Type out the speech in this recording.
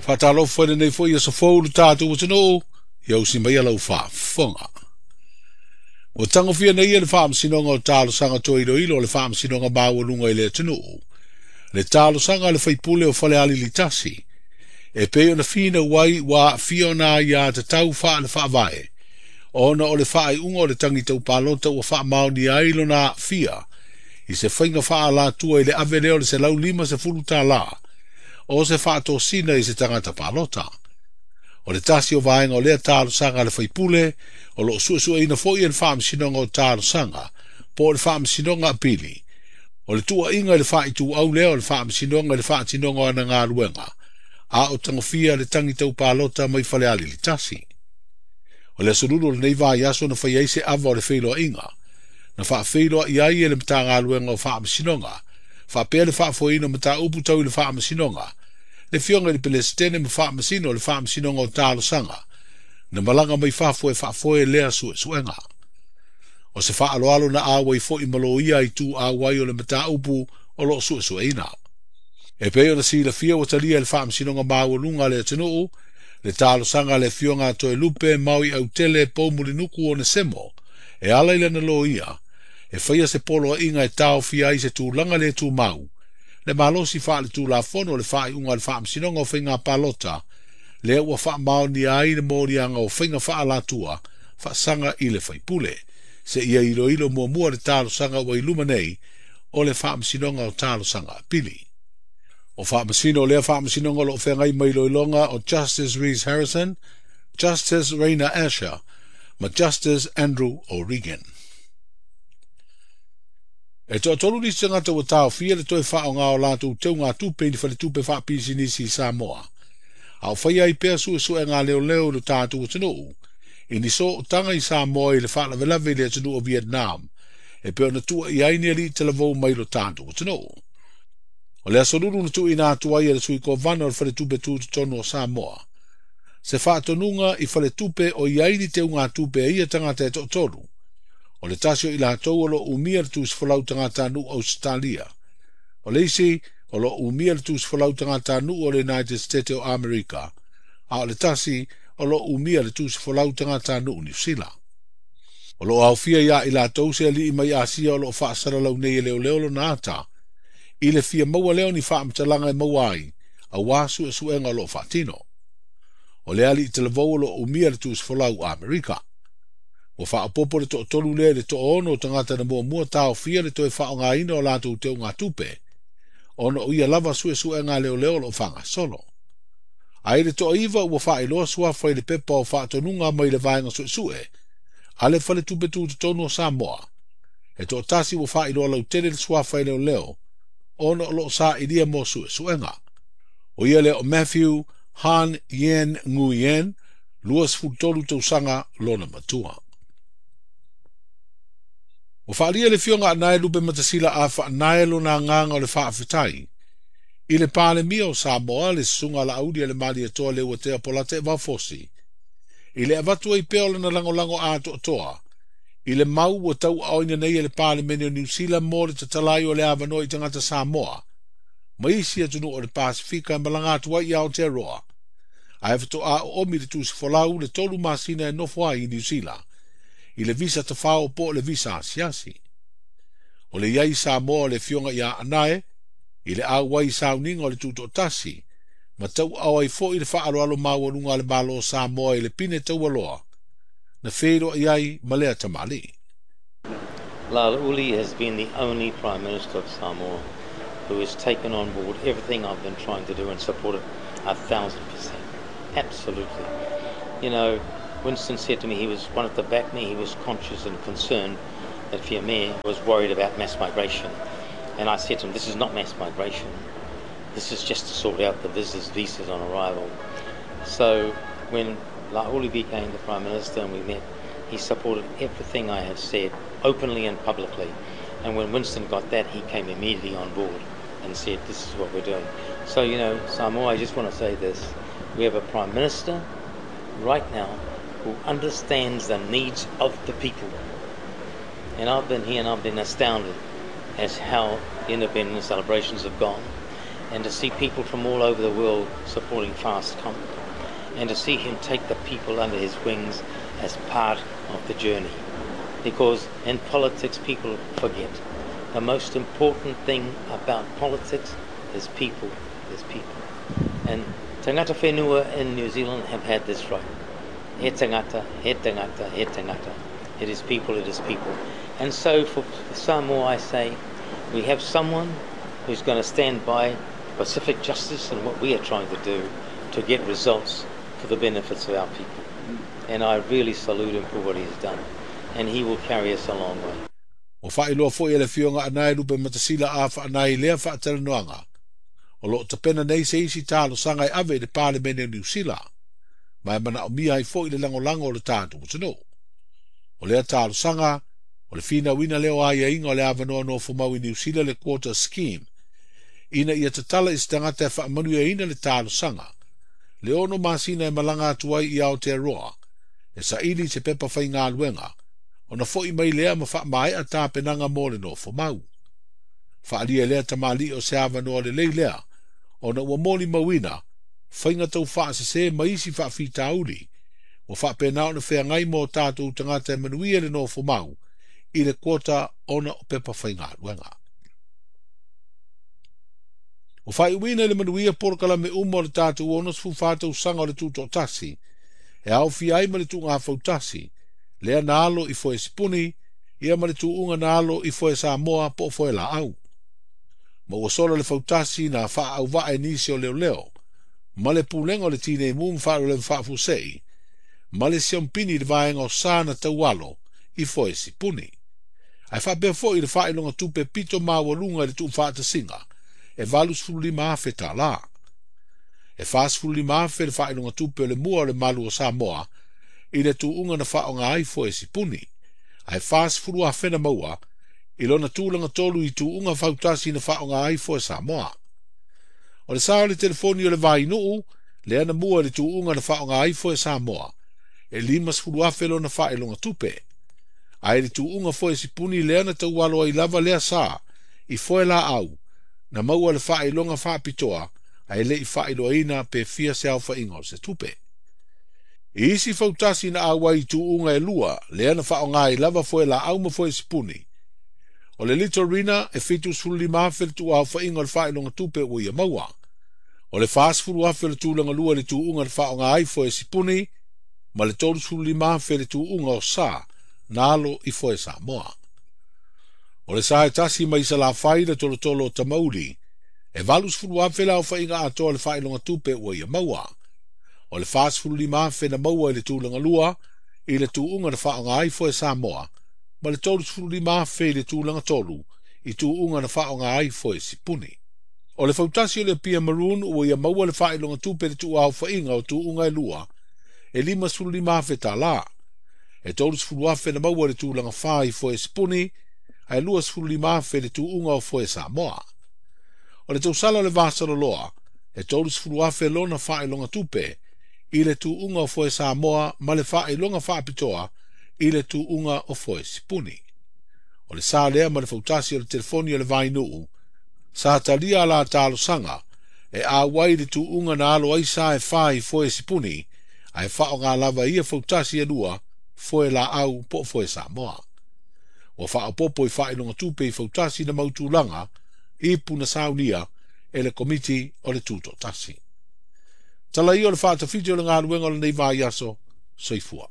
Faatalofa i lenei foi aso fou i lo tatou atunuu, ia usi maia lau faafofoga. Ua tagofia nei e le Faamasinoga o Talosaga Toe Iloilo o le Faamasinoga Maualuga i le atunuu, le talosaga a le faipule o Falealili 1, e pei ona finau ai ua aafia ona aiatatau faale-faavae, ona o le faaiuga o le tagi tau palota ua faamaonia ai lona aafia i se faiga faaalatua i le ave lea o le $150 o se faatosina i se tagata palota. O le tasi o vaega o lea talosaga a le faipule o loo suesueina foi e le Faamasinoga o Talosaga po o le Faamasinoga Apili, o le tuuaiga i le faaituau lea o le Faamasinoga i le faatinoga o ana galuega, a o tagofia le tagi tau palota mai Falealili 1. O le aso Lulu o lenei vaiaso na fai ai se ava o le feiloaiga, na faafeiloai ai e le Matagaluega o Faamasinoga, faapea le faafoeina o mataupu tau i le Faamasinoga, le afioga i le Peresetene ma Faamasino o le Faamasinoga o Talosaga, na malaga mai fafo e faafoe lea suesuega. O se faaaloalo na auai foi ma loia i tu auai o le mataupu o loo suesueina. E pei ona silafia ua talia e le Faamasinoga Maualuga a le atunuu, le talosaga a le afioga a Toelupe Maui Autele Poumulinuku Onesemo, e ala i lana loia, e faia se poloaiga e taofia ai se tulaga le tumau, le malosi faaletulafono o le faaiuga a le Faamasinoga o Faiga Palota, lea ua faamaonia ai le moliaga o faiga faaalatua faasaga i le faipule. Se ia iloilo muamua le talosaga ua i luma nei o le Faamasinoga o Talosaga Apili. O faamasino o lea faamasinoga o loo feagai ma iloiloga o Justice Rees Harrison, Justice Raina Asher ma Justice Andrew O'Regan. E toatolu nisi tagata ua taofia le toe faaaoga o latou teugatupe i ni faletupe faapisinisi i Samoa, a o faia ai pea suesuega a leoleo i lo tatou atunuu, i ni sootaga i Samoa i le faalavelave i le atunuu o Vietnam, e pei ona tuuaia ai ni alii talavou mai lo tatou atunuu. O le aso Lulu na tuuina atu ai e le sui kovana o le faletupe tutotonu o Samoa, se faatonuga i faletupe o i ai ni teugatupe a ia tagata e toatolu. O le tasi o i latou o lo umia le tusifolau tagatanuu Ausetalia. O le isi o lo umia le tusifolau tagatanuu o le United States o Amerika, a o le tasi o lo umia le tusifolau tagatanuu Niu Sila. O lo aofia ia i latou se alii mai Asia o lo faasalalau nei e leoleo lona ata, i le fia maua lea o ni faamatalaga e maua ai, auā suesuega o lo faatino. O le alii talavou o lo umia le tusifolau Amerika. Ua faaopoopo le toatolu lea i le 60 o tagata na muamua taofia le toe faaaogaina o latou teugatupe, ona o ia lava suesuega a leoleo o lo o faagasolo. Ae i le 9 ua faailoa suafa i le pepa o faatonuga mai le vaega suesue a le faletupe tutotonu o Samoa. E toatasi ua faailoa lautele le suafa i leoleo, ona o lo o sailia mo suesuega. O ia lea o Matthew Han Yen Nguyen, 23 tausaga lona matua. Ua faaalia le afioga a Nae Lupe Matasila a faanae lona agaga o le faafetai i le Palemia o Samoa, le susuga Laauli a le Malietoa Leuatea Polataivao Fosi, i le avatu ai pea o lana lagolago atoatoa i le mau ua tauaaoina nei e le Palemene o Niu Sila mo le tatalai o le avanoa i tagata Samoa ma isi atunuu o le Pasifika e malaga atu ai i Aotearoa, ae faatoa oomi le tusifolau le 3 masina e nofo ai i Niu Sila, i le visa tafao po o le visa asiasi. O le iai Samoa o le afioga ia Anae, i le auai sauniga o le tutoatasi, ma tauaao ai foi le faaaloalo maualuga a le Malo o Samoa i le pine taualoa, na feiloai ai ma lea tamalii. Laauli has been the only Prime Minister of Samoa who has taken on board everything I've been trying to do and supported 1,000%. Absolutely. You know, Winston said to me he was wanted to back me. He was conscious and concerned that Fiame was worried about mass migration. And I said to him, this is not mass migration. This is just to sort out the visitors' visas on arrival. So when Laauli became the Prime Minister and we met, he supported everything I have said openly and publicly. And when Winston got that, he came immediately on board and said, this is what we're doing. So, you know, Samoa, I just want to say this. We have a Prime Minister right now who understands the needs of the people. And I've been here and I've been astounded as how the independence celebrations have gone. And to see people from all over the world supporting Fastcom, and to see him take the people under his wings as part of the journey. Because in politics, people forget. The most important thing about politics is people, is people. And tangata whenua in New Zealand have had this right. He tangata, he tangata, he tangata. It is people, it is people. And so for Samoa, I say, we have someone who's going to stand by Pacific justice and what we are trying to do to get results for the benefits of our people. And I really salute him for what he's done. And he will carry us a long way. Ua faailoa foi e le Afioga Anae Lupematasila a Faanai i lea faatalanoaga, o lo o tapena nei se isi talosaga e ave i le Palemene o Niu Sila, ma e manaomia ai foi le lagolago o le tatou atunuu. O lea talosaga, o le finauina lea o aiaiga o le avanoa nofomau i Niu Sila le Quota Scheme, ina ia tatala i se tagata e faamanuiaina le talosaga, le 6 masina e malaga atu ai i Aotearoa, e saili i se pepa faigaluega, ona foi mai lea ma faamaea tapenaga mo le nofomau. Faaalia lea tamalii o se avanoa lelei lea, ona ua molimauina, faiga tau faasese ma isi faafitauli, ua faapena ona feagai ma o tatou tagata e manuia le nofomau i le quota ona o pepa faigaluega. Ua faaiuina i le manuia polokalame uma o le tatou 64 tausaga o le tutoatasi, e aofia ai ma le tuuga fautasi, lea na alo i foe sipuni, ia ma le tuuga na alo i foe Samoa po o foe laau. Ma ua sola le fautasi na faaauvae e nisi o leoleo, ma le pulega o le tinei mu ma faalole faafusei, ma le siompini i le vaega o sa na taualo i foe sipuni. Ae faapea foi i le faailoga tupe pito maualuga i le tuufaatasiga, e $85,000. E $45,000 le faailoga tupe o le mua o le malu o Samoa i le tuuga na faaaoga ai foe sipuni, ae $40,000 na maua i lona tulaga tolu i tuuga fautasi na faaaoga ai foe Samoa. O le sa o le telefoni o le Vainuu, lea na mua i le tuuga na faaaoga ai foe Samoa, e $50,000 lona faailoga tupe. Ae le tuuga foe sipuni lea na taualo ai lava lea sa i foe laau, na maua le faailoga faapitoa, ae le i faailoaina pe fia se aofaiga o se tupe. I isi fautasi na auai i tuuga e lua, lea na faaaoga ai lava foe laau ma foe sipuni. O le Litorina e 75,000 le tuuaofaiga o le faailoga tupe ua ia maua. O le 40,000 le tulaga lua i le tuuga na faaaoga ai foe sipuni, ma le 35,000 le tuuga o sa na alo i foe Samoa. O le sa e tasi mai Salafai le tolotolo o Tamauli, e 80,000 le aofaiga atoa le faailoga tupe ua ia maua. O le 45,000 na maua i le tulaga lua i le tuuga na faaaoga ai foe Samoa, ma le 35,000 i le tulaga tolu i tuuga na faaaoga ai foe sipuni. O le fautasi o le Apia Maroon ua ia maua le faailoga tupe le tuuaofaiga o tuuga e lua, e $55,000. E 30,000 na maua i le tulaga 4 i foe sipuni, ae 25,000 le tuuga o foe Samoa. O le tausala o le Vasaloloa, e 30,000 lona faailoga tupe i le tuuga o foe Samoa ma le faailoga faapitoa i le tuuga o foe sipuni. O le sa lea ma le fautasi o le telefoni o le Vainuu, sa talia la talosaga e auai le tuuga na alo ai sa e 4 i foe sipuni, ae faaaoga lava ia fautasi e lua, foe laau po o foe Samoa. Ua faaopopo i faailoga tupe i fautasi na mautulaga ipu na saunia e le komiti o le tutoatasi. Tala ia o le faatafiti o le galuega o lenei vaiaso, soifua.